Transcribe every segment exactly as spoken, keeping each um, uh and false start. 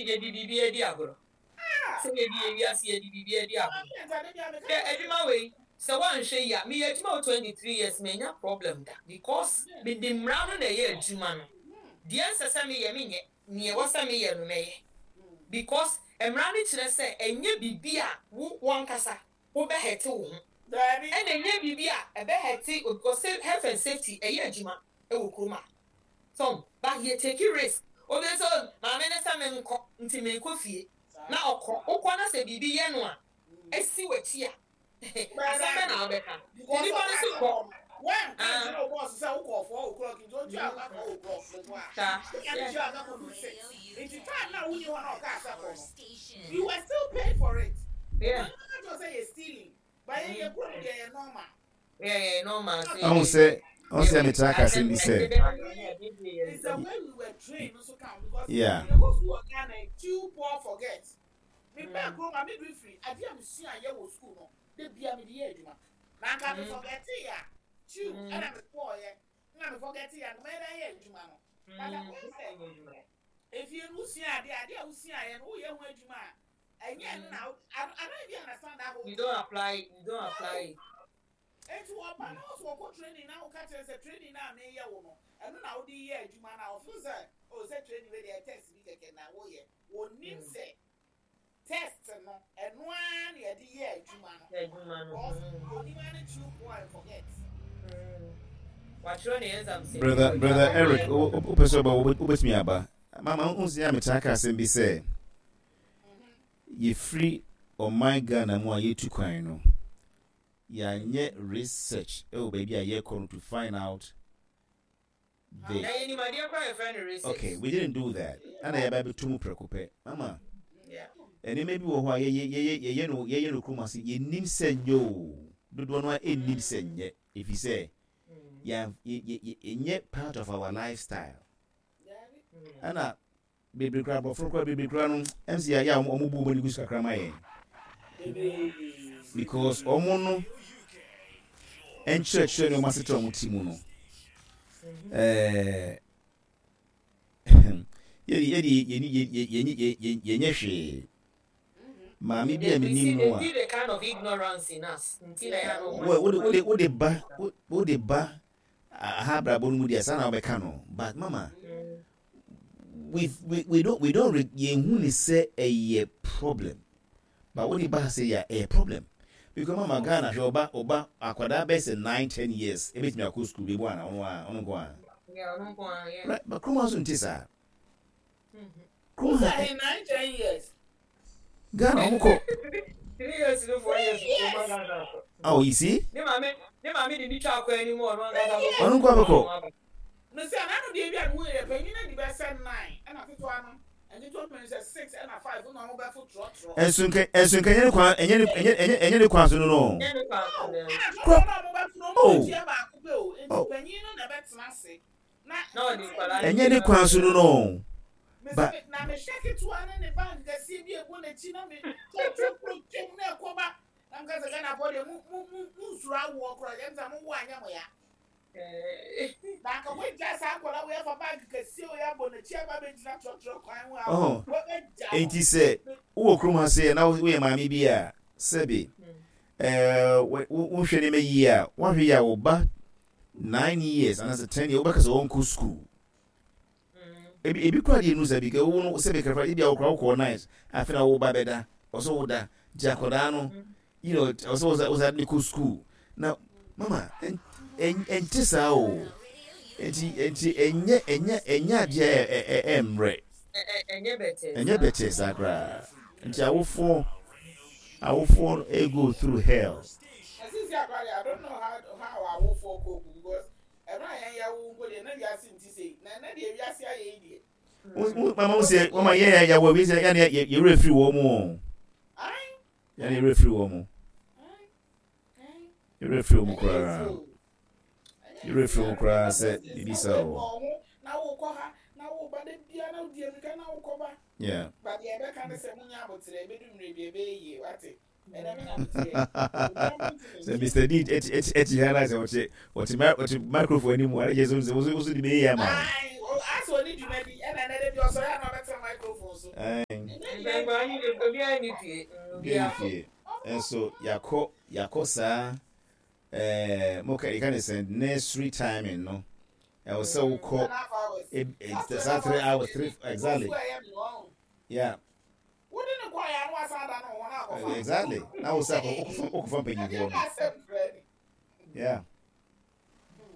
Yɛde biribi adi agorɔ. Sɛ yɛde yɛ wiase, yɛde biribi adi agorɔ. Hwɛ, adwuma wei, sɛ woanhwɛ yi a, meyɛ adwuma wɔ twenty three years, manya problem da, because mede mmara no na ɛyɛ adwuma no. Deɛ nsɛ sɛ meyɛ, menyɛ. Neɛ ɛwɔ sɛ meyɛ no, mɛyɛ, because mmara no kyerɛ sɛ ɛnyɛ biribi a wo wankasa wobɛhɛte wo ho, ɛna ɛnyɛ biribi a ɛbɛhɛte, because health and safety ɛyɛ adwuma ɛwɔ kurom a so, but yɛ take risk. Obi nso, maame ne sɛ menkɔ nti menkɔ fie na ɔkɔ, wokɔ na sɛ biribi yɛ no a, esi w'akyi a, asɛm bɛ na wobɛka nipa no so kɔ. When kan kyerɛ wo boss sɛ wokɔ four o'clock nti otua aka four o'clock mpo a, saa wonya tua aka kɔdu six, nti time na wonni hɔ na ɔkaa sɛ kɔ no, you were still paid for it. Yeah. Ɔno ka kyerɛ sɛ yɛ stealing, but yɛn yɛ kurom deɛ, yɛ normal. Yeah, yeah, normal. Ɔhu sɛ ɔhu sɛ metra ka asɛm bi sɛ It's the way we were trained no so count, because Yeah. yɛkɔ school wɔ Ghana, chew, pour, forget. Me bɛɛ kurom a, midwifery adeɛ a mesua yɛ wɔ school no de bia mede yɛ adwuma na anka me forget yɛ a, chew ɛna me pour yɛ na me forget yɛ a, nka mɛyɛ dɛ ayɛ adwuma no. But akɔyɛ sɛ efie no, wosua adeɛ adeɛ a wosua yɛ no, woyɛ ho adwuma a, ɛnyɛ ɛno na I I don't even understand that whole You don't apply it, you don't apply it. Nti wɔba na wɔsɔ wɔkɔ training na wɔka kyerɛ sɛ training na meyɛ wo no, ɛno na wode yɛ adwuma na ɔfeel sɛ o sɛ training wei deɛ, test bi kɛkɛ na woyɛ. Wɔnim sɛ test no, ɛno ara na yɛde yɛ adwuma no. Adwuma no. Because onim ara ne chew, pour and forget. Watwerɛ ne exam sɛ brother brother Eric, wopɛ sɛ ɔba, wobɛtumi aba. Mama, wohu sɛ a metra ka asɛm bi sɛ yɛfiri ɔman Ghana mu a yɛtu kwan no, yɛanyɛ research ɛwɔ baabi a yɛkɔ no to find out the Na yɛnim adeɛ koraa yɛfrɛ no research. Okay, we didn't do that, ɛna yɛba bɛtu mu prɛko pɛ, mama. Yeah. Nneɛma bi wɔ hɔ a yɛyɛ yɛyɛ yɛyɛ no yɛyɛ no kurom ase, yɛnim sɛ nyɛ o, dodoɔ no a ɛnnim sɛ nyɛ, ɛfiri sɛ yɛn yɛ yɛ yɛnyɛ part of our lifestyle. Ɛna bebree koraa, aborɔfo koraa bebree koraa no, ɛm sɛ yɛ a ɔmo bu ɔmo ani gu so kakra ma yɛn, because ɔmo no nkyerɛkyerɛ ne ɔmo asetena ɔmo ti mu no, ɛɛ yɛde yɛde yɛni yɛni yɛnyɛ hwee. Maame bi a menim no a They see the kind of ignorance in us nti na yɛ ano. Wode wode wode ba wode ba aha abrabɔ no mu deɛ, saa na wobɛka no. But mama, we we we don't we don't yɛnhu ne sɛ ɛyɛ problem, but wode ba ha sɛ yɛ ɛyɛ problem, because mama, Ghana, hwɛ, ɔba ɔba akwadaa bɛyɛ sɛ nine ten years, ebɛtumi akɔ school bi bu ana, ɔno a ɔno nko a. Yeah, ɔno nko ara, yeah. Right, but kurom ha so nte saa. Kurom ha Sɛ nine ten years. Ghana, ɔmo kɔ. Three years no, four years kò má Ghana so. Oh, you see. Ne maame ne maame de ne twa akɔ anim, ɔno ankasa bɛkɔ. Ɔno nko abɛkɔ. Mesi anano deɛ bi a mo yɛ panyin na di bɛ sɛ nine, ɛna ketewa no, nketewa mmienu sɛ six ɛna five, ɛna ɔmo bɛfo trɔtrɔ. Ɛnso nka ɛnso nka ɛnyɛ ne kwan, ɛnyɛ ne ɛnyɛ ɛnyɛ ɛnyɛ ne kwan so no no. Ɛnyɛ ne kwan so no. Ɛna trɔtrɔ na ɔmo bɛfo no, ɔmo Oh. bɛtua baako pɛ o, nti Oh. panyin no na ɛbɛtena ase na Na ɔde nkwadaa no Ɛnyɛ ne kwan so no no. Ba mesi na mehwɛ ketewa ne ne bag kɛseɛ bi egu n'akyi na me trɔtrɔ kuro twam na ɛkɔba na nka sɛ Ghana fɔ deɛ, mu mu mu mu nsuro awoɔ koraa, yɛn sɛ mo wo anyɛ mo ya. Eh, Na anka woagya saa akwadaa wei afa bag kɛseɛ wei abɔ n'akyi aba abɛgyina trɔtrɔ kwan ho a ɔhɔ wɔbɛgya no. Enti sɛ wowɔ kurom ha sɛ na woyɛ maame bi a, sɛbe ɛɛ wo wohwɛ nneɛma yie a, woahwɛ yie a, wo ba nine years anaasɛ ten years, wobɛka sɛ wɔnkɔ school. Ebi ebi kora deɛ nu sɛ bi ka wo no, sɛbe kɛfɛ ebi a wokora wokɔ nine, afei na wo ba bɛda ɔsɛ woda gye akwadaa no, you know ɔsɛ wosa wosa de kɔ school. Na mama, ɛn ɛn ɛnte saa o. Nti nti ɛnyɛ ɛnyɛ ɛnyɛ adeɛ a ɛ ɛ ɛmmerɛ. ɛ- ɛ- ɛnyɛ bɛtɛ. Ɛnyɛ bɛtɛ saa koraa. Nti awofoɔ awofoɔ ɛ go through hell. Asisi akwadaa deɛ, I don't know how how awofoɔ cope, because ɛmɛ a yɛn yɛ wo mpo deɛ, na wiase nti sei na ɛnɛ deɛ wiase ayɛ yi deɛ. Wo- wo- mama, wo sɛ mama yɛ yɛ yɛwɔ wi sɛ yɛne yɛ yɛwerɛ firi wɔ mu o. Ayi. Yɛne yɛwerɛ firi wɔ mu. Ayi ayi. Yɛwerɛ firi wɔ mu Ɛnyɛ koraa. easy o. Ɛnyɛ Yɛwerɛ easy. firi wɔ mu koraa sɛ biribi saa Wobɔ wɔ. ho na wokɔ ha na woba de bia na wodi amirika na wokɔ ba. Yeah. But deɛ ɛbɛka ne sɛ munya abotrɛ, ɛbɛdu mmerɛ bi ɛbɛyɛ yie, wate. Ɛnɛ me na meteɛ. Sɛ Mister D ɛti ɛti ɛti ha na sɛ ɔte ɔte mi ɔte microphone anim a, ɛkyɛ sɛ ɔsɛ ɔsɛ de bɛyɛ ama wo. Ayi, asɛ ɔne dwuma bi ɛna ɛnɛ de bi ɔsɔre a na ɔbɛtena. microphone so. Obiara ni fie. Obiara fie. Nso yakɔ yakɔ saa ɛɛ mo ka yɛka ne sɛ nursery timing no ɛwɔ sɛ wokɔ saa three hours three exactly yeah. Exactly. Na wo sɛ wokɔfa mpanyinfoɔ no. Yeah.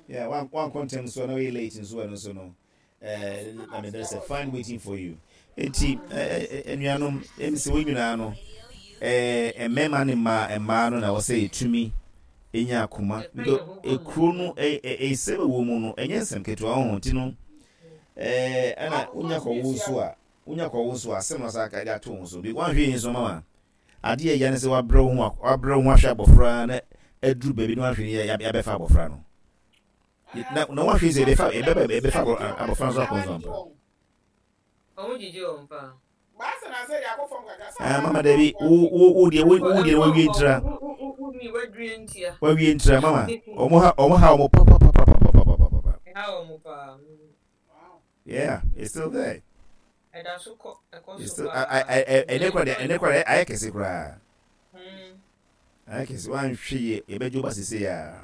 Yeah, one one content so na we late nso ɛno nso no. Eh, I mean there's a fine waiting for you. Enti enuanom emsi wo nyinaa no eh mmarima ne mmaa mmaa no na wɔsɛ yɛtumi enya akoma because ekuro no eh nsɛm ɛwɔ mu no ɛnyɛ nsɛm ketewa ho nti no eh ɛna wonya kɔwo nso a wonya kɔwo nso a asɛm na ɔsa aka de ato ho so bi wanhwɛ yi nso mama adeɛ ɛya ne sɛ wabrɛ wo ho wabrɛ wo ho ahwɛ abɔfra na aduru baabi na wanhwɛ yi yɛabɛfa abɔfra no na na wanhwɛ yi sɛ yɛbɛfa yɛbɛba yɛbɛfa abɔfra nso akɔ nso ampa. Ɔmo gyigye wɔn paa. Ah, mama dabi wo wo wo deɛ wo wo deɛ wawie ntira wawie ntira mama ɔmo ha ɔmo ha ɔmo pa pa pa pa pa pa pa pa pa. Ɛha ɔmo paa. Yeah, it's still there. Ɛda so kɔ ɛkɔ It's so still paa. ɛnɛ kora deɛ ɛnɛ kora ayɛ kɛse koraa. Ayɛ kɛse wanhwɛ yie yɛbɛgye wo ba sese ya.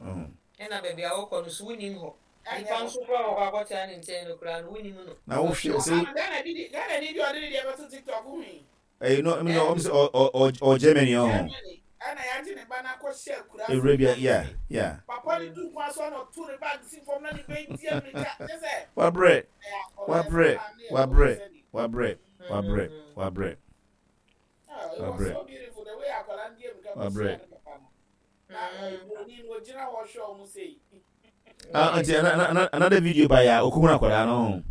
Ɛna baabi a wɔkɔ no so wonim hɔ. Nipa nso koraa wɔ hɔ akɔtena ne nkyɛn no koraa no wonim no. Na wohwɛ sɛ Ghana bi Ghana ni bi ɔde ne deɛ bɛto TikTok hu yi. ɛyi no ɛmi ɔmo sɛ ɔ ɔ ɔ Germany ɔho. Germany ɛna yagye ne ba n'akɔ hyɛ akura. Ewura bi yeah yeah. Papa ne du kwan so na ɔto ne bag si fam na ne bɛ di amirika kyɛ sɛ. Wabrɛ wabrɛ wabrɛ wabrɛ wabrɛ wabrɛ. It was so beautiful the way akwadaa no di amirika kɔ hyia ne papa no. Na broni no ogyina hɔ hwɛ ɔmo sei. Ah, nti another video by ya okuhun akwadaa no ho.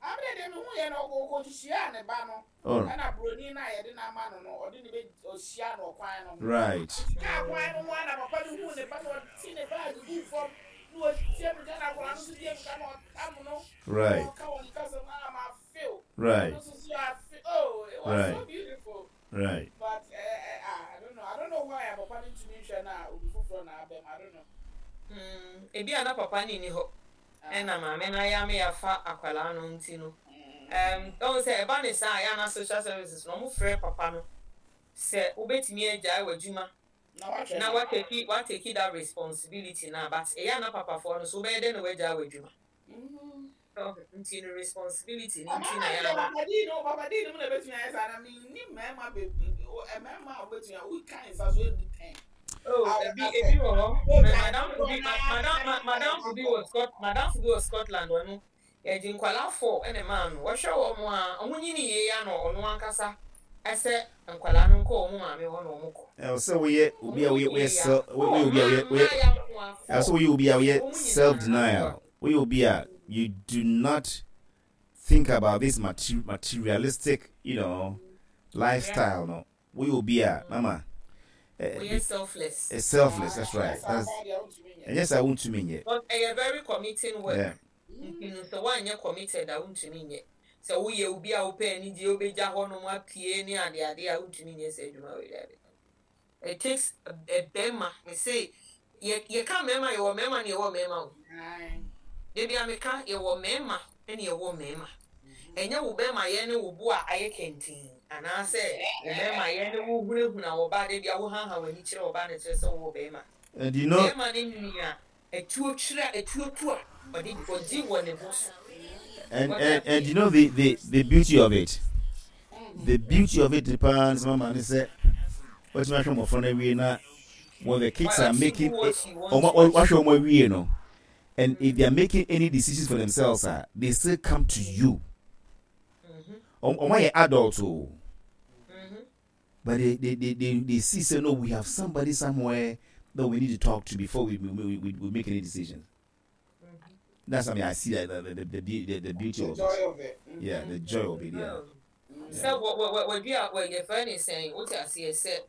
Abere deɛ mehu yɛ no ɔkɔhyia ne ba no. Ɛna broni no a yɛde no ama no no ɔde ne bɛ ɔhyia no ɔkwan no ho. Right. Kaa kwan no ho a na papa no hu ne ba no ɔte ne baage gu fam na ɔdi amirika na akwadaa no nso di amirika na ɔtam no. Right. Ɔka wɔn kasa mu a ma feel. Right. Ɔno nso so afe oh it was right. so beautiful. Right. But uh, uh, I don't know I don't know why a papa no ntumi nhwɛ na obi foforɔ na abɛm I don't know. Mm, ebi a na papa ne ni hɔ ɛna maame na ayɛ ame yafa akwadaa no nti no um, ɔhu sɛ ɛba ne saa a yɛ ana social services no ɔmo frɛ papa no sɛ wobɛtumi agyae w'adwuma Na na watake watake that responsibility na but ɛyɛ ana papafoɔ no so wobɛyɛ dɛn na wagyae w'adwuma nti no responsibility ne nti na yɛ ana Papa di no papa di no mu na ebetumi ayɛ saa na mi ni mmarima bebree mmarima a wobetumi a woka nsa so edu ten. Oh, ebi ebi wɔ hɔ. Madam bi madam madam bi wɔ Scot madam bi wɔ Scotland ɔno yɛgye nkwalaa four ɛna maa no wɔhwɛ wɔn a wɔn nyini yie ya na ɔno ankasa ɛsɛ nkwalaa no nkɔ wɔn maame hɔ na wɔn kɔ. Ɛwɔ sɛ woyɛ obi a woyɛ woyɛ self woyɛ obi a woyɛ woyɛ ɛwɔ sɛ woyɛ obi a woyɛ self denial woyɛ obi a you do not think about this materi materialistic you know lifestyle no woyɛ obi a mama. Woyɛ selfless. It's selfless that's right that's ɛnyɛ sɛ wontumi nyɛ. But ɛyɛ very committing work. Yeah. Nti no sɛ woanyɛ committed a wontumi nyɛ sɛ woyɛ obi a wopɛ anigye wobɛgya hɔ nom apue ne adeade a wontumi nyɛ sɛ adwuma wei dade. It takes a bɛrima me say yɛ yɛka mmarima yɛwɔ mmarima ne yɛwɔ mmarima o. Debi a meka yɛwɔ mmarima ne yɛwɔ mmarima. Ɛnyɛ wo bɛrima yɛ ne wo bo a ayɛ kɛntɛn anaasɛ wo bɛrima yɛ ne wo hunahuna wɔ ba debi a wo haha w'ani kyerɛ wɔ ba ne kyerɛ sɛ wowɔ bɛrima. And you know. Bɛrima ne nua etuo kyerɛ etuo tu a ɔde ɔgye wɔ ne bo so. And and and you know the the the beauty of it. The beauty of it depends mama ne sɛ wɔtumi ahwɛ mmɔfra no awie na when the kids are making ɔmo wahwɛ ɔmo awie no and if they are making any decisions for themselves ah they still come to you. Ɔmo ayɛ adult o. But they they they they they see say no we have somebody somewhere that we need to talk to before we we we, we make any decisions. That's something I see that the the the, the, the beauty The of joy it. of it. Yeah, the joy of it. Yeah. Sɛ wɔ wɔ wɔ wɔdi a wɔ yɛfrɛ ne sɛn wote aseɛ sɛ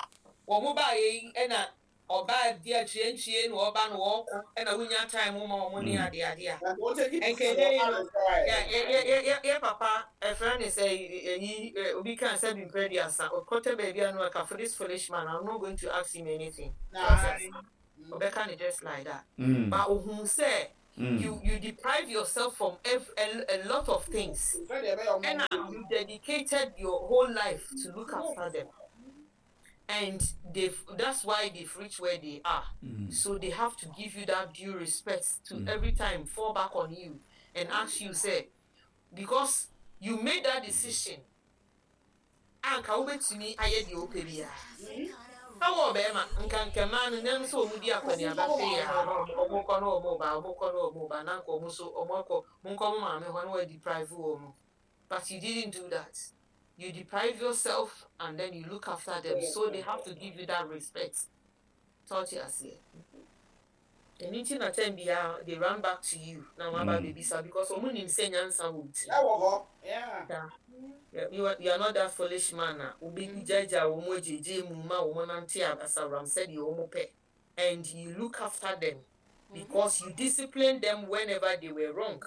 wɔn mo baa yɛ yi ɛna ɔbaa di akyire nkyie na ɔba no wɔɔkɔ ɛna wonya time ma wɔn ne ade ade a nkɛnɛ yi no yɛ yɛ yɛ yɛ yɛ papa ɛfrɛ ne sɛ ɛyi ɛ obi kan sɛ bi mpɛ duasa ɔkɔtɛ baabi a no ɛka for this foolish man I'm not going to ask him anything. Ɔbɛka ne just like that. Mm. But ohun sɛ Mm. You you deprive yourself from every, a, a lot of things. And you dedicated your whole life to look after them. And they've that's why they've reached where they are. Mm. So they have to give you that due respect to every time fall back on you and ask you, say, because you made that decision. Anka wobɛtumi ayɛ deɛ wopɛ biara na wɔ bɛrima nka nkɛmaa no nam sɛ ɔmu di akɔneaba sei a na ɔmo kɔ na ɔmo ba ɔmo kɔ na ɔmo ba na nka ɔmo so ɔmo akɔ monkɔ mo maame hɔ na wɔadeprive wɔ mo, but you didn't do that. You deprive yourself and then you look after them, so they have to give you that respect. Tɔɔte aseɛ, ɛno nti na time biara they run back to you na wɔn aba Mm. bebisa because ɔmo nim sɛ nyansa wɔ wo ti. Ɛwɔ hɔ, yeah. Yeah, you are, you are not that foolish man a obi gyagya wɔn agyegye mu ma wɔn nante asawram sɛdeɛ wɔn pɛ, and you look after them because you discipline them whenever they were wrong.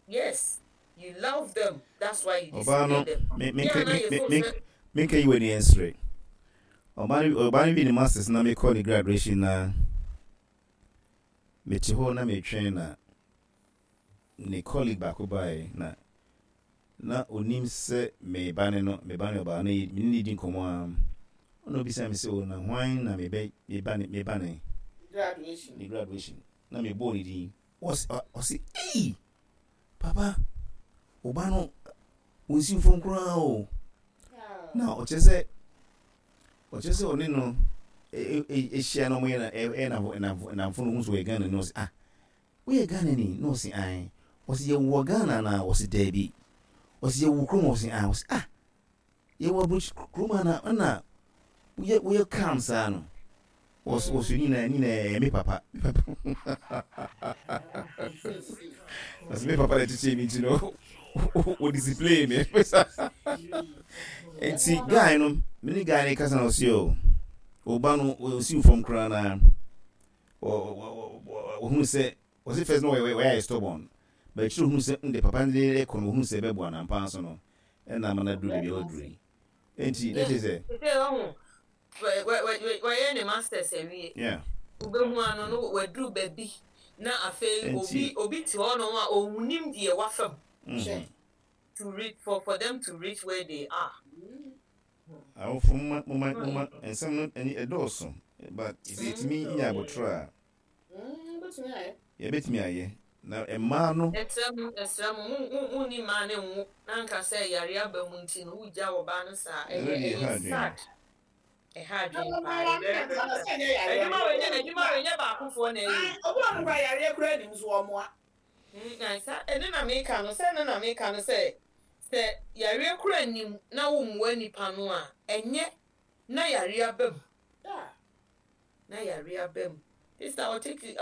Yes, you love them, that's why you Ɔbaa no discipline them. me me Yeah, na me yɛ me fo me sɛ menka yi wɔ ni ɛnsere ɔbaa no ɔbaa no bi ne masters na mekɔ ne graduation na mete hɔ na metwɛn na ne colleague baako baeɛ na na onim sɛ meba ne no meba ne ɔbaa no yi me ne ne di nkɔmmɔ a ɔna obisa me sɛ o na hwan na mebɛ meba ne meba ne Graduation. Ne graduation na mebɔɔ ne din, ɔse ɔse ei, papa, ɔba no ɔnsi fam koraa o. Na ɔkyerɛ sɛ ɔkyerɛ sɛ ɔne no ɛhyia na ɔmoyɛ ɛyɛ namfo namfo no ho so ɔyɛ Ghana ni. Ɔse, "Ah, woyɛ Ghana ni?" Na ɔse, "Ae." Ɔse, "Yɛwɔ Ghana?" Na ɔse, "Daabi." Ɔse, "Yɛwɔ kurom?" Ɔse, "Ae." Ɔse, "Ah, yɛwɔ aburokyi kurom ana ɛna woyɛ woyɛ calm saa no?" Ɔse ɔse nyinaa nyinaa ɛyɛ me papa, me papa. Ɔse me papa na ɛkyekyere mi nti no o discipline me. Nti guy no, me ne guy no kasa na ɔse o ɔba no ɔsi fam koraa na ɔhunu sɛ ɔse first no wɔyɛ wɔyɛ stubborn, but akyire ohunu sɛ nde papa no de kɔ no, ohunu sɛ ɛbɛboa na mpa so no ɛna ama no aduru baabi a ɔduru yi. Nti na kyerɛ sɛ sɛ ɔho wɔyɛ ne masters awie, yeah wobɛhu ano no waduru baabi na afei Nti- obi obi te hɔ nom a ɔnnim deɛ wafam mhm. to reach for for them to reach where they are. Awofo, moma moma moma nsɛm no ɛni ɛdɔɔso, but sɛ yɛtumi nya abotire a Bɛtumi ayɛ. Yɛbɛtumi ayɛ na mmaa no Ɛsrɛ mo, ɛsrɛ mo, mo mo mo ni mmaa ne nwo na nka sɛ yare aba mu nti no wogya ɔbaa no saa. Ɛno ɛyɛ deɛ ɛha ɛyɛ adwene. sad, ɛha adwene Na paa. maame Ɛyɛ very na very sɛ sad. ɛnyɛ yareɛ. Adwuma wɔ nyɛ adwuma wɔ nyɛ baakofoɔ na ɛyɛ. Obi wɔ no kora yareɛ kora anim so ɔmoa. Mm, na sa ɛno na meka no sɛ ɛno na meka no sɛ sɛ yareɛ kura nim na wommua nipa no a, ɛnyɛ na yare aba mu na yare aba mu. Sister, autism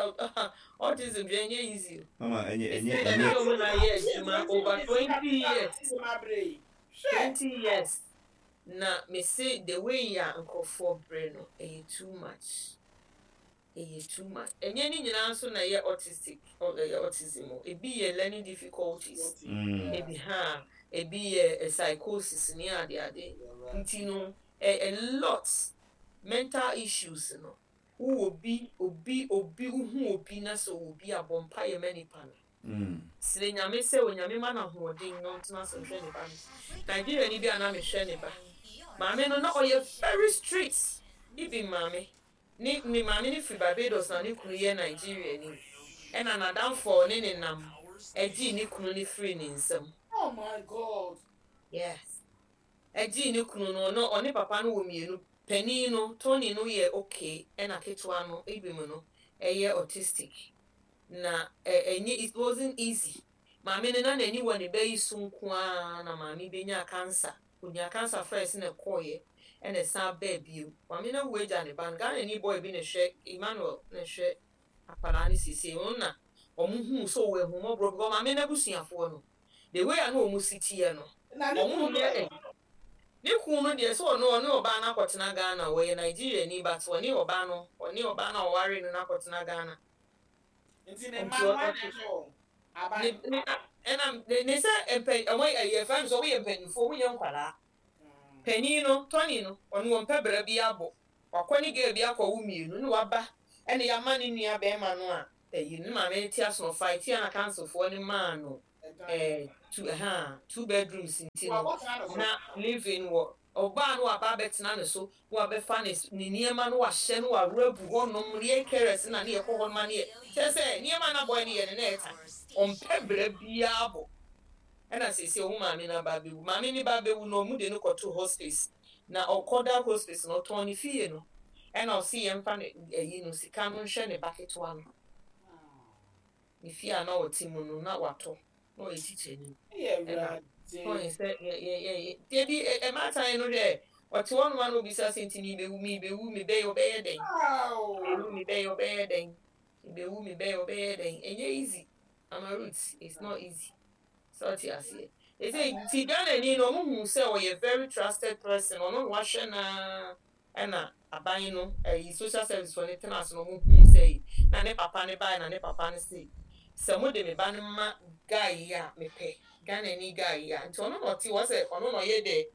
autism deɛ, ɛnyɛ easy o. Mama, ɛnyɛ ɛnyɛ Ɛsɛ ɛnyɛ dɛ ɔmo na yɛ adwuma over twenty years, twenty years, na me se the way a nkurɔfoɔ brɛ no, ɛyɛ too much, ɛyɛ too much. Ɛnyɛ ne nyinaa nso na ɛyɛ autistic, ɔ- ɛyɛ autism o. Ebi yɛ learning difficulties, Mm. ebi ha ebi yɛ eh, psychosis ne ade ade. Nti no a, a lot mental issues no, wowɔ bi obi obi wohu obi na sɛ ɔwɔ bi a, bɔ mpa yɛ ma nipa no. Mm. Srɛ Nyame sɛ Onyame ma no ahoɔden na ɔntena so nhwɛ ne ba no. Nigeria ni bi a na mehwɛ ne ba maame no na ɔyɛ very strict. Ibi maame ne ne maame ne firi Barbados na ne kunu yɛ Nigeria ni, ɛna n'adamfo a ɔne ne nam ɛgyee ne kunu ne firi ne nsam. Oh my God. Yes, ɛgyee ne kunu no no ɔne papa no wɔ mmienu. Panin no, Tony no, yɛ okay, ɛna ketewa no, ebi mu no ɛyɛ autistic na ɛ ɛnyɛ it wasn't easy. Maame no na n'ani wɔ ne ba yi so nko ara na maame benya cancer. Onya cancer first na ɛkɔɔyɛ, ɛna ɛsan bɛɛ bio. Maame no awu agya ne ba no. Ghana ni boy bi na ɛhwɛ Emmanuel na ɛhwɛ akwadaa no siesie wɔn na wɔn hu so wɔ ehumɔborɔ because maame no abusuafoɔ no, the way a na wɔn si teɛ no, Na ne wɔn kunu yɛ ne kun no deɛ sɛ ɔno ɔne ɔbaa no akɔtena Ghana. Wɔyɛ Nigeria ni, but ɔne ɔbaa no ɔne ɔbaa no a ɔware no no akɔtena Ghana. Nti ne mma no ana ɛhwɛ wɔn aban? Ne ne ɛna ne ne sɛ mpɛ ɔmo yɛ fɛn sɛ ɔmo yɛ mpanyinfoɔ, ɔmo yɛ nkwadaa. Panyin no, Tony no, ɔno wɔn mpɛ brɛ bi abɔ wakɔ ne girl bi akɔwo mmienu ne waba, ɛna yɛama ne nua bɛrima no a Ɛyi ne maame te aso, ɔfa tia na councilfoɔ ne maa no ɛɛ two ɛha two bedrooms, nti no na living wɔ ɔbaa no waba abɛtena ne so, wabɛfa ne ne nneɛma no, wahyɛ no, wawura gu hɔnom. Yɛn carers na ne yɛkɔ hɔ nom, ne yɛ kyerɛ sɛ nneɛma na bɔyɛ ne yɛ ne na ɛta ɔmpɛ brɛ biara bɔ. Ɛna sese ɔmo maame no aba abɛwu, maame ne ba abɛwu na ɔmo de no kɔto hospice, na ɔkɔda hospice no, ɔtɔn ne fie no, ɛna ɔsi yɛn mfa ne ɛyi no sika no nhwɛ ne ba ketewa no. Ne fie a na ɔte mu no na watɔ, na ɔyɛ teacher ni, ɛna ɔyɛ sɛ yɛ yɛ yɛ yɛbi ɛmaatan no hwɛ, ɔte hɔ nom a na obisa sɛ, nti mi bɛwu, mi bɛwu, mi bɛyɛ, ɔbɛyɛ dɛn? Bɛwu, mi bɛyɛ, ɔbɛyɛ dɛn? Mi bɛwu, mi bɛyɛ, ɔbɛyɛ dɛn? Ɛnyɛ easy, Mama Ruth, it's not easy sɛ ɔte aseɛ. Ɛsɛ ti Ghana ni no, ɔmo hu sɛ ɔyɛ very trusted person, ɔno na wahwɛ naa. Ɛna aban no ɛyi social service fo ne tena ase na ɔmo hu sɛ yi na ne papa ne baa, na ne papa ne se sɛ mo de me ba no ma guy yi a, mepɛ Ghana ni guy yi a, nti ɔno na ɔte hɔ sɛ ɔno na ɔyɛ dɛ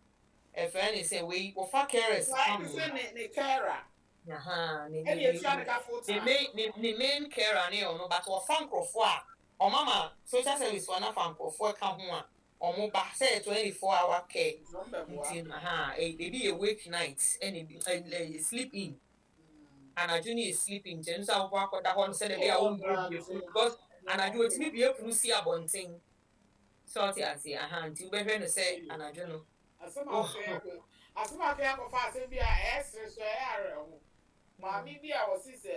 ɛfɛ ne sɛ wei wɔfa carers ka ho ne ne carer. Aha, ne ne ne main ne ne main carer ne ɔno, but wɔfa nkurɔfoɔ a ɔmo ama social service fo nafa nkurɔfoɔ ka ho a ɔmo ba sɛ twenty four hour care. Nti aha, ebi yɛ wake night, ɛna ebi ɛ sleep in, anadwo ne yɛ sleep in, nkyɛn nso akɔkɔ akɔda hɔ no sɛdeɛ ɛbɛyɛ a wɔn bie bie because anadwo otumi bie pono si abɔnten sɛ ɔte ase. Aha, nti wobɛhwɛ no sɛ anadwo no. Asɛm a ɔfɛ asɛm a ɔfɛ akɔfa asɛm bi a ɛyɛ sere so, ɛyɛ awerɛho. Maame bi a wɔsi sɛ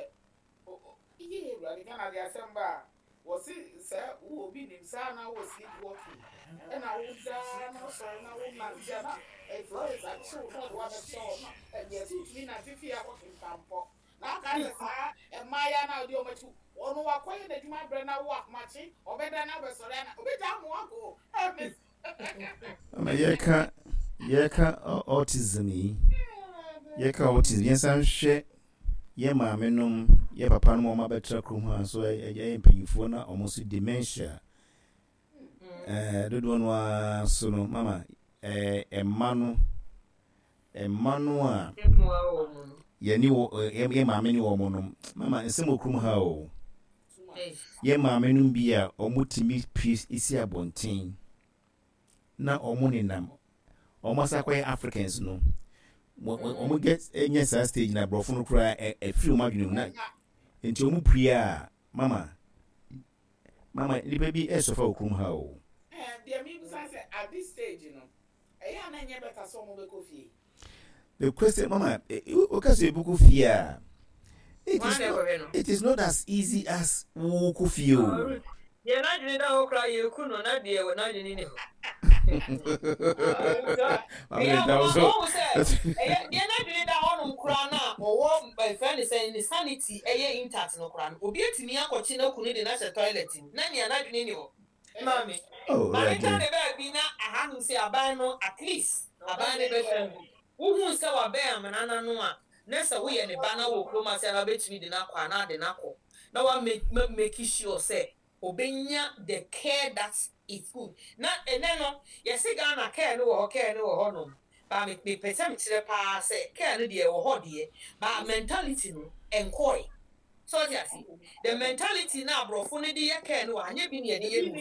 iye Ewurade Ghana de asɛm ba a wɔsi sɛ wo obi nim saa na wɔ sleep walking, ɛna wo daa na ɔsɔre na wo nante a na florist akyew na ɔde wabɛhyɛ hɔ na ɛyɛ sɛ wotumi nante fie akɔ kentampɔ na aka sɛ saa mmaayɛ na ɔde ɔmo akyi, ɔno wakɔyɛ n'adwuma abrɛ na wo akomakye ɔbɛda na ɔbɛsɔre ana ɔbɛgya amo akɔ ɛmɛ. Ama yɛka yɛka autism yi, yɛka autism, yɛnsan hwɛ yɛ maame nom, yɛ papa nom a ɔmo abɛtena kurom ha nso, ɛyɛ mpanyinfoɔ na ɔmo nso dementia ɛɛ dodoɔ no ara so no, mama ɛɛ ɛma no ɛma no a yɛne wɔ yɛ maame ne wɔn nom, mama nsɛm wɔ kurom ha o. Yɛ maame nom bi a ɔmo tumi pie esi abɔnten na ɔmo nenam, ɔmo asa akɔyɛ Africans no, ɔmo get ɛnyɛ saa stage na aborɔfo no koraa ɛfiri ɔmo adwene mu na nti ɔmo pue a, mama mama nipa bi ɛsɔfa wɔ kurom ha o. Deɛ mi bisa sɛ, at this stage no, ɛyɛ a na nyɛ better sɛ ɔmo bɛkɔ fie? The question, mama, o ka sɛ ebukɔ fie a, it is not it is not as easy as wokɔ fie o. Deɛ n'adwene da hɔ koraa yɛ ku no, na deɛ n'adwene ni hɔ. Maame da wo so. Ɛyɛ deɛ n'adwene da hɔ nom koraa na ɔwɔ ɛfɛ ne sɛ ne sanity ɛyɛ intact no koraa no, obi etumi akɔkye n'akunu de n'ahyɛ toilet mu na nea n'adwene ni hɔ. Maame, Oh, maame ka ne baabi na ahanom sɛ aban no, at least aban ne bɛhwɛ no. Wohu sɛ wabɛn amena n'ano a, na sɛ woyɛ ne ba na wɔ kurom ase a, na wobɛtumi de n'akɔ a, na ade n'akɔ na wa make sure sɛ obenya the care that is good. Na ɛnɛ no yɛsi Ghana care no wɔ hɔ, care no wɔ hɔ nom ba, me mepɛ sɛ mekyerɛ paa sɛ care no deɛ ɛwɔ hɔ deɛ, ba mentality no ɛnkɔɛ so. Ɔte ase, the mentality na aborɔfo no de yɛ care no wɔ anyɛ bi na yɛde yɛ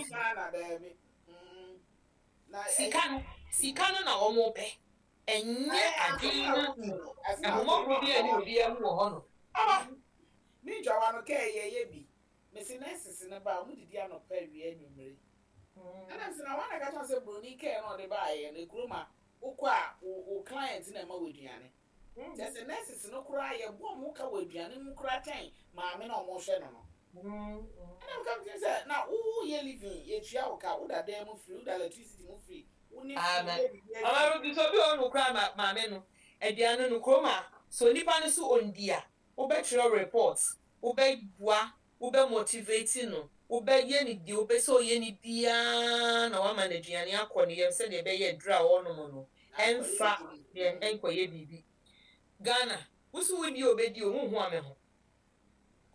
no. Sika no, sika no na wɔn pɛ, ɛnyɛ adwene no. Ahomɔborɔ bi a ɛne obiara mu wɔ hɔ no. Aba ne ntwawa no kɛɛ yɛyɛ bi mesi nurses no ba a, ɔmo didi anɔpa, awia, anwummere. Ɛna mesi na wɔn na ka kyerɛ sɛ broni kɛɛ na ɔde baayɛ no ekurom a wokɔ a, wo wo client na ɛma wɔ aduane, kyerɛ sɛ nurses no koraa yɛbɔ ɔmo ka wɔ aduane mu koraa kyɛn maame na ɔmo hwɛ no no Ɛna meka mi sɛ na wo yɛ living, yɛtua wo ka, woda dan mu free, woda electricity mu free, wo ne Amen. Ɔmaro bi so bi wɔ no koraa ma maame no aduane no kurom a so nipa no so ondi a, wobɛtwerɛ report, wobɛboa, wobɛ motivate no, wobɛyɛ ne deɛ wobɛ sɛ ɔyɛ ne biara na wama no aduane akɔ ne yam sɛdeɛ ɛbɛyɛ aduru a ɔrenom no ɛmfa deɛ ɛnkɔyɛ biribi. Ghana wosi wodi a, obɛdi o, huhu ame ho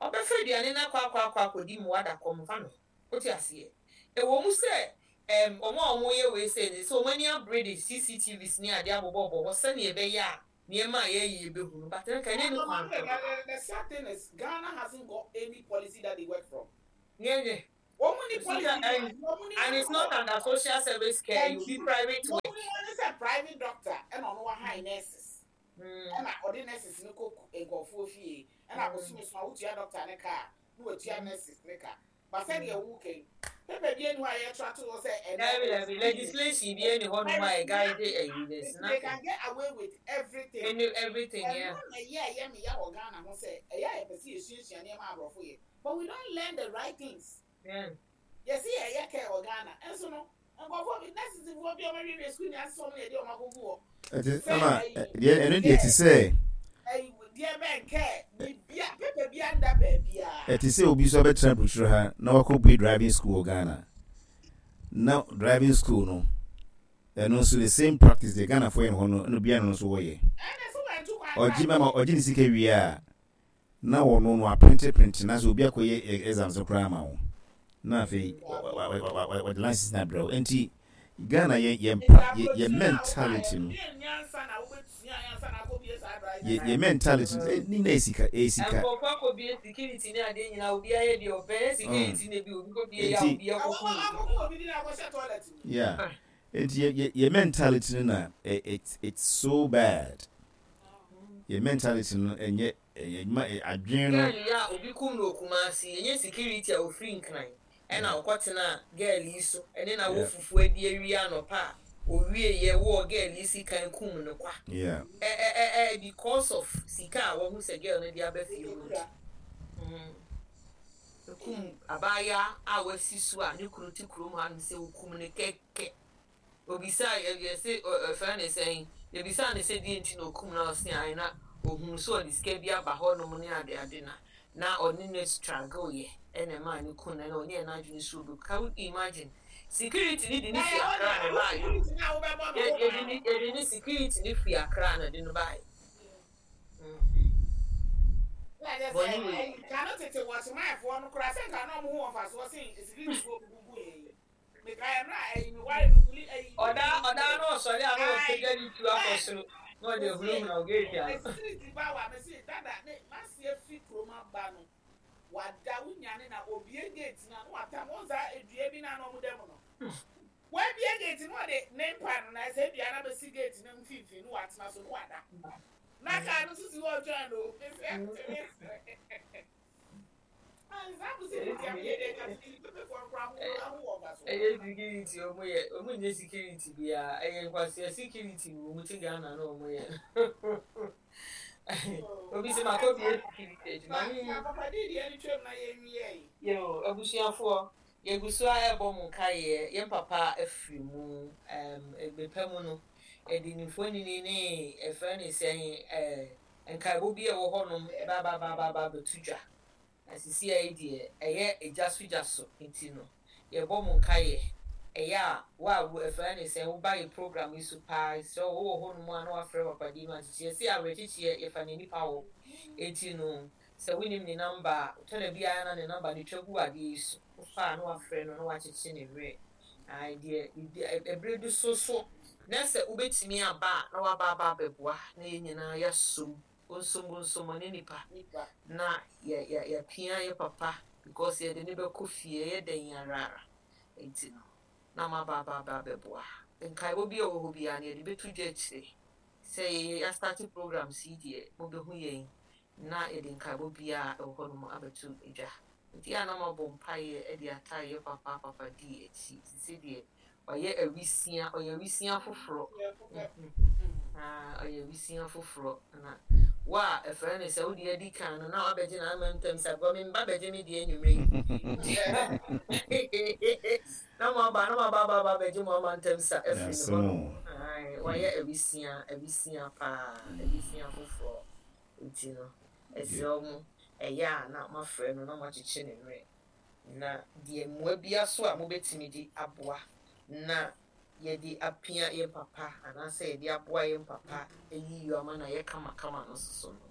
ɔbɛfa aduane no akɔ akɔ akɔ akɔdi mu wada kɔm fa no. Wote aseɛ, ɛwɔ mu sɛ ɛm ɔmo a ɔmo yɛ wei sɛ sɛ ɔmo ani abere de C C T Vs ne adeɛ abobɔbɔ hɔ sɛnea ɛbɛyɛ a Nneɛma a yɛyɛ yɛbɛhu no, but nka ɛnyɛ ne kwan so. The sad thing is Ghana hasn't got any policy that they work from. Nyɛ Wɔn ni policy. And, and it's not under social service care, you be private work. Wɔn ni sɛ private doctor ɛna ɔno wa hire nurses. Ɛna ɔde nurses no kɔ nkɔfoɔ fie, ɛna abosom so a wotua doctor ne kaa na watua nurses ne ka. But sɛdeɛ wo kɛn paper bi enu a yɛtra to hɔ sɛ ɛnɛ legislation bi ɛni hɔ nom a guide ɛyi, there's they nothing. Can get away with everything. Any everything, yeah. Ɛno na ɛyɛ ɛyɛ me ya wɔ Ghana ho sɛ ɛyɛ a yɛpɛ sɛ yɛsuasua nneɛma aborɔfo yɛ, but we don't learn the right things. Yeah. Yɛsi yɛyɛ care wɔ Ghana, ɛnso no nkɔfoɔ bi, nurses foɔ bi a wɔn awie sukuu ni asesɛ wɔn na yɛde wɔn akɔgu hɔ. Ɛti ama deɛ ɛno deɛ ti sɛ ɛyi deɛ bɛn care bibia, paper bi anda baabia. Ɛte sɛ obi nso abɛtena burukyire ha na wakɔ bue driving school wɔ Ghana, na driving school no ɛno nso the same practice deɛ Ghanafoɔ yɛ no hɔ no, ɛna obiara no nso wɔyɛ. Ɛna so wɔn kwan. Ɔgye mama ɔgye ne sika wie a, na wɔno no aprint print na sɛ obi akɔyɛ e- exams no koraa ama wo, na afei wɔde license na abrɛ wo. Nti Ghana yɛ yɛ mpa yɛ yɛ mentality no yɛ yɛ mentality no eh, ne nyinaa yɛ sika, ɛyɛ sika. Nkɔfoɔ akɔbie security ne adeɛ nyinaa, obi ayɛ deɛ ɔpɛ, ɛyɛ security na bi obi kɔbie yɛ a Enti- obi akɔkɔ obi. Yeah, nti yɛ yɛ yɛ mentality no na eh, it's it's so bad. Yɛ mentality no ɛnyɛ ɛyɛ adwuma ɛ adwene no. Girl yi a obi kum no Okumase, ɛnyɛ security a ofiri Nkran ɛna ɔkɔtena girl yi so ɛne na wɔ fufuo adi awie anɔpa a owie yɛ wɔ girl yi sika kum no kwa. Yeah ɛ ɛ ɛ ɛ because of sika a wɔn sɛ girl no de aba fie hɔ nti Mm. Ekum abaayewa a wasi so a ne kunu te kurom ha no sɛ okum ne kɛkɛ. Obisa yɛsɛ ɛfɛ ne sɛn, ebisa ne sɛ deɛ nti na okum na ɔse ayi na ohun so ɔde sika bi aba hɔnom ne ade ade na na ɔne ne struggle yɛ ɛna ɛmaa ne kun na ɛna ɔnyɛ n'adwene so obi. Can you imagine, security ni de ne fi Akra na ɛbaa yɛ, yɛde ne yɛde ne security ne fi Akra na de no baa yɛ. Kano tete wɔkyemanfoɔ no koraa sɛ nka na ɔmo ho wɔ mfasoɔ sen securityfoɔ gugu yɛ yi. Mekae mmerɛ a ɛyi meware no wuli ɛyi. Ɔdaa ɔdaa na ɔsɔre a na ɔpagya ne tu akɔ soro na ɔde ehunahuna ogeeti ano. Security ba wa mesi dada ne masi efi kurom aba no, wada wunyane na obie gate na na watam wɔn saa edua bi na na ɔmo dɛm no. Wabie gate no, ɔde ne mpa no na ɛsɛ dua na bɛsi gate no mfimfini no, watena so no, wada na kaa no nso si hɔ ɔtwɛn no. Mesi ɛtumi Ɛyɛ security ɔmo yɛ, ɔmo nyɛ security biara, ɛyɛ nkwasia security wɔ ɔmo ti Ghana na ɔmo yɛ. Obi sɛ ma kɔ bie security adwuma. Papa di deɛ no twam na yɛnwie yi. Yo, abusuafoɔ, yɛgu so a ɛbɔ mo nkaeɛ, yɛn papa afiri mu. ɛm ebepɛ mu no, yɛde ne mfonini ne ɛfrɛ ne sɛn, ɛɛ nkaebɔ bi a ɛwɔ hɔnom ɛbababaaba bɛto dwa. Na sisi a yi deɛ ɛyɛ egya so gya so, nti no yɛbɔ mo nkaeɛ. Ɛyɛ a wo a wo ɛfrɛ ne sɛn, woba yɛ program yi so paa, sɛ wowɔ hɔnom a na wafrɛ papa di no akyekyeɛ sɛ awerɛkyekyeɛ yɛfa ne nipa wɔ. Eti no sɛ wonim ne number a, tɔna biara na ne number no twa gu adeɛ yi so, wofa a na wafrɛ no na wakyekye ne werɛ. Ae deɛ ɛberɛ bi so so na sɛ wobɛtumi aba a na waba aba abɛboa na yɛn nyinaa yɛasom bonsom bonsom ɔne nipa na yɛ yɛ yɛpia yɛ papa because yɛde ne bɛkɔ fie, ɛyɛ dɛn ara. Nti no na ma aba aba aba abɛboa. Nkaebɔ bi a ɛwɔ hɔ biara no yɛde bɛto dwa akyire sɛ yɛyɛ yɛastart programs yi deɛ, mobɛhu yɛn na yɛde nkaebɔ biara ɛwɔ hɔnom abɛto dwa. Nti a na mabɔ mpaeɛ de ata yɛ papa papa di akyi sisi deɛ ɔyɛ awisia, ɔyɛ awisia foforɔ. Ɔyɛ awisia foforɔ na wo a ɛfrɛ no sɛ wode adi kan no na wabɛgye na ama ntam sɛ agorɔ me mba bɛgye me deɛ anwummerɛ yi na mo aba na mo aba aba aba bɛgye mo ama ntam sa afiri ne hɔ no. Wayɛ awisia, awisia paa, awisia foforɔ. Nti no ɛsrɛ mo, ɛyɛ a na moafrɛ no na moakyekye ne werɛ na deɛ mmoa bia so a mobɛtumi de aboa na yɛde apia yɛn papa anaasɛ yɛde aboa yɛn papa ayi yɔ ama na yɛ kamakama no soso no,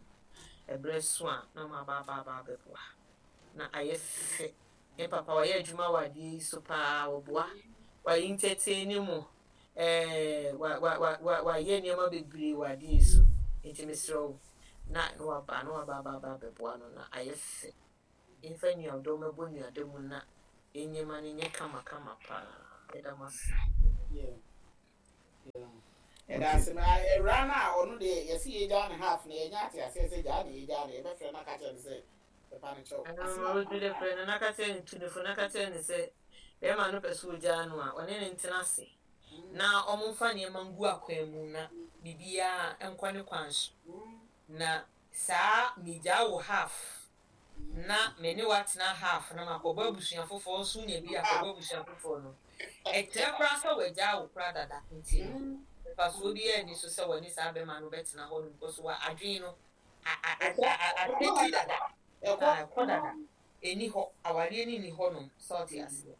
ɛberɛ so a na mo aba aba aba abɛboa na ayɛ fɛ. Yɛn papa wayɛ adwuma wɔ adeɛ yi so paa, wɔboa, wayɛ entertain mu, ɛɛ wa wa wa wa wayɛ nneɛma bebree wɔ adeɛ yi so. Nti mesrɛ wo na na waba na waba aba aba abɛboa no na ayɛ fɛ. Yɛmfa nnuadɔ mmɛbɔ nnuada mu na nneɛma no nyɛ kamakama paa. Yɛda mo ase. Yeah. Yeah. Ɛda ase na awura no a ɔno deɛ yɛsi yɛgyaa ne half na yɛnya ate aseɛ sɛ gyaa ne yɛgyaa ne yɛbɛfrɛ no aka kyerɛ no sɛ ɛpa no kyɛw. Ɛno otu de frɛ no na ka kyerɛ no tu ne fo na ka kyerɛ no sɛ bɛrima no pɛ sɛ ogyaa no a ɔne ne ntena ase na ɔmomfa nneɛma ngu akwan mu na biribiara nkɔ ne kwan so. Na saa megyaa wo half na me ne watena half na makɔbɔ abusua foforɔ nso nya bi akɔbɔ abusua foforɔ no ɛkyerɛ koraa sɛ wagyaa wo koraa dada nti no mfasoɔ biara nni so sɛ wɔne saa bɛrima no bɛtena hɔ no because wa adwene no ateti dada ɛkɔ dada ɛni hɔ awareɛ no ni hɔ nom sɛ ɔte aseɛ.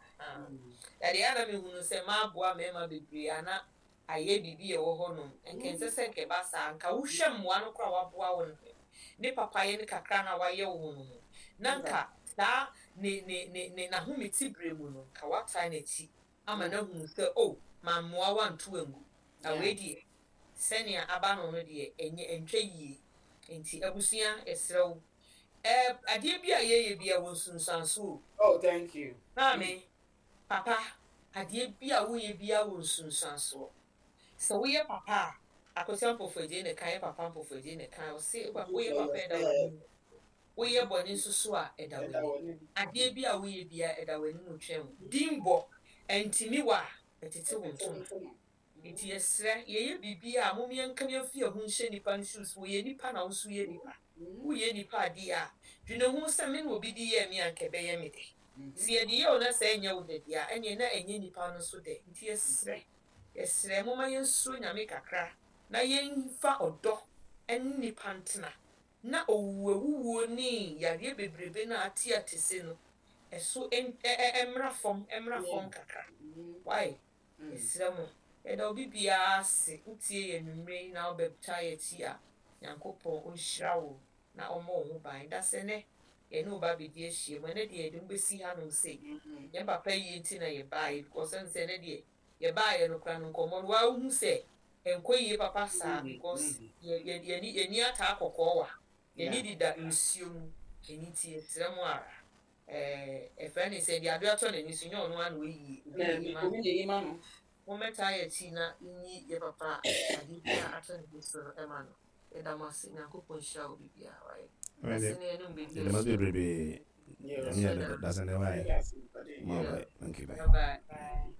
Ɛdeɛ ana mehunu sɛ maaboa mmarima bebree ana ayɛ biribi a ɛwɔ hɔ nom nkɛnsɛ sɛ nkɛba saa nka wohwɛ mmoa no koraa waboa wo no ne papayɛ ne kakra na wayɛ wo no mu na nka saa ne ne ne ne n'ahomete bere mu no nka wataa n'akyi ama n'ahunu sɛ o mammoa wanto angu na wei deɛ sɛnea aba no no deɛ ɛnyɛ ɛntwa yie. Nti abusua ɛsrɛ wo ɛɛ adeɛ bi a yɛyɛ bi a wɔ nsunsuanso o. Oh, thank you. Maame, papa, adeɛ bi a woyɛ bi a wɔ nsunsuansoɔ. Sɛ woyɛ papa a, Akosua Mpɔfoagye ne kan yɛ papa Mpɔfoagye ne kan ɔse woyɛ papa ɛda w'anim. Woyɛ bɔne nso so a ɛda w'anim. Adeɛ bi a woyɛ bi a ɛda w'anim twɛn wo. Din bɔ ɛntimi wɔ a ɛtete wo ntoma. Nti yɛsrɛ yɛyɛ biribi a mom yɛnka yɛmfi yɛn ho nhyɛ nipa no shoes. Wɔyɛ nipa na wo nso yɛ nipa. Woyɛ nipa adeɛ a dwene ho sɛ me na obi de yɛɛ me a nka ɛbɛyɛ me dɛ. Sɛ yɛde yɛ wo na sɛ ɛnyɛ wo dɛ deɛ a ɛneɛ na ɛnyɛ nipa no so dɛ. Nti yɛsrɛ yɛsrɛ momma yɛnsuro Nyame kakra na yɛmfa ɔdɔ ne nipa ntena na owuwawuwuo ne yareɛ bebrebe no a ate ate se no ɛso ɛmmra fam ɛmmra fam kakra. Why? Yɛsrɛ mo yɛda obi biara ase wotie yɛn anwummerɛ yi na wobɛta yɛn akyi a Nyankopɔn ɔnhyira wo na ɔmmɔ wo ho ban. Da sɛ nɛ yɛne wo ba bɛdi ahyia mu ɛnɛ deɛ yɛde mo bɛsi hanom sei yɛn papa yie nti na yɛbaeɛ because ɛno sɛ ɛnɛ deɛ yɛbaeɛ no koraa no nkɔmmɔ no waa wohu sɛ ɛnkɔ yie papa saa because yɛ yɛni yɛni ataa kɔkɔɔ wa yɛni deda nsuo mu ɛni nti yɛsrɛ mo ara ɛɛ ɛfrɛ ne sɛ deɛ ade atɔ n'ani so nyɛ ɔno ara na ɔyie obi na eyi ma no. Mommɛtaa yɛn akyi na nyi yɛ papa ade bi a atɔ n'ani so no ɛma no. Yɛda mo ase. Nyankopɔn nhyira wo biribiara wayɛ. Ase ne yɛne mo bɛdi Yɛda mo ase bebrebe. Nyame yɛ dasɛn dɛ wayɛ. Yeah, bye. Thank you, bye. Bye bye.